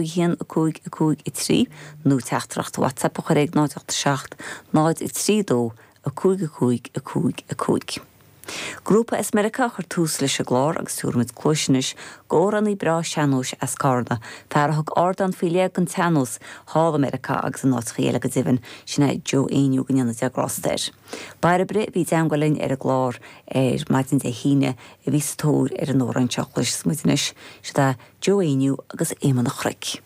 1 5 5 3 nó teachtaireacht WhatsApp a chur ag 0 8 7 0 3 2 5 5 5 5. Grúpa as Meiriceá a chuir tús leis an gclár agus tabharfaimid cluais anois d'amhránaí breá sean-nóis as Carna, fear a thug ardán faoi leith don tsean-nós thall i Meiriceá agus in áiteachaí eile go deimhin, sin é Joe Éinniú go ndéana Dia grásta air. Bairbre, a bhí i dteangmháil linn ar an gclár ar maidin Dé hAoine, a bhí sa tóir ar an amhrán seo, cloisfidh muid anois, siod é Joe Éinniú agus Éamonn an Chnoic.